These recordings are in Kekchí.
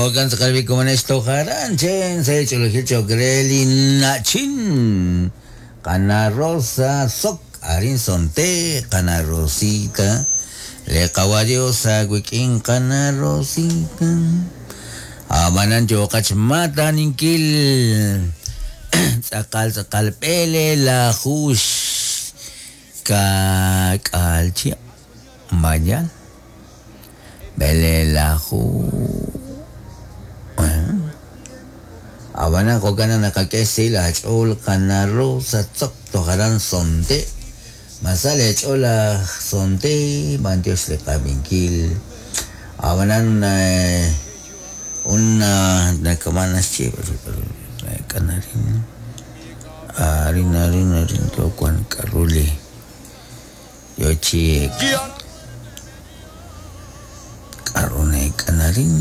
Jo'kan tz'aqal b'i komonex toj aran chen sa' ch'oolejil cho'q re li na'chin Qana Rosa Tzok arin Sonte Qana Rosita le Qawa' Dios aawik'in Qana Rosita Ab'anan yooqat xmaataninkil tz'aqal tz'aqal b'eleelaju xka'k'aal chihab' mañana b'eleelaju Ab'anan jo'kan naq naqak'e xsahil aach'ool Qana Rosa Tzok toj aran Sonte Ma sa leech'ool laj Sonte b'antiox li qab'inkil Ab'anan un nakama naxye arin arin arin arin yo wan k'aru li yo chi k'aru neek'an arin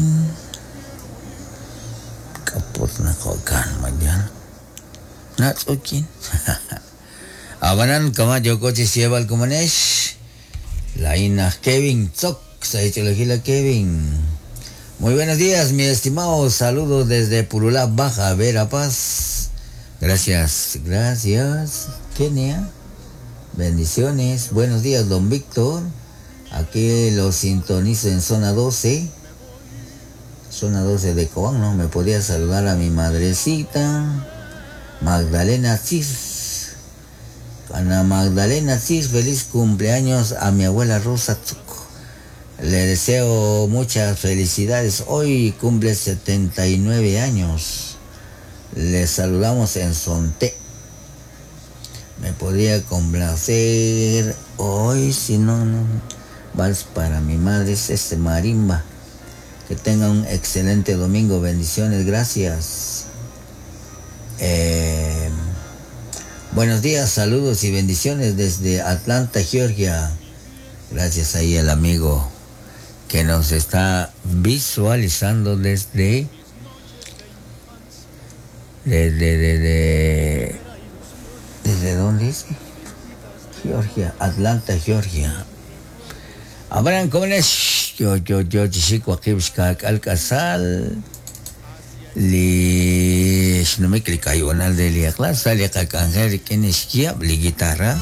k'aput naq jo'kan mañana natz'ukin Ab'anan kama' yooko chi xyeeb'al komonex laa'in aj Kevin Tzok sa' xch'oolejil a Kevin Muy buenos días, mi estimado. Saludos desde Purulá, Baja Verapaz. Gracias, gracias, Kenia. Bendiciones. Buenos días, don Víctor. Aquí lo sintonizo en zona 12. Zona 12 de Cobán, ¿no? Me podía saludar a mi madrecita, Magdalena Cis. Ana Magdalena Cis, feliz cumpleaños a mi abuela Rosa Tzuco. Le deseo muchas felicidades. Hoy cumple 79 años. Le saludamos en Sonte. Me podría complacer hoy, si no, no. Vals para mi madre es este marimba. Que tenga un excelente domingo. Bendiciones, gracias. Eh, buenos días, saludos y bendiciones desde Atlanta, Georgia. Gracias ahí al amigo que nos está visualizando desde desde desde desde dónde es Georgia, Atlanta, Georgia. Abraham Cones, yo yo yo chixik waqib' xka'k'al k'asal li xnumik li kayu'unal de li aqla sa' li qak'anjel rik'in xyaab' li guitarra.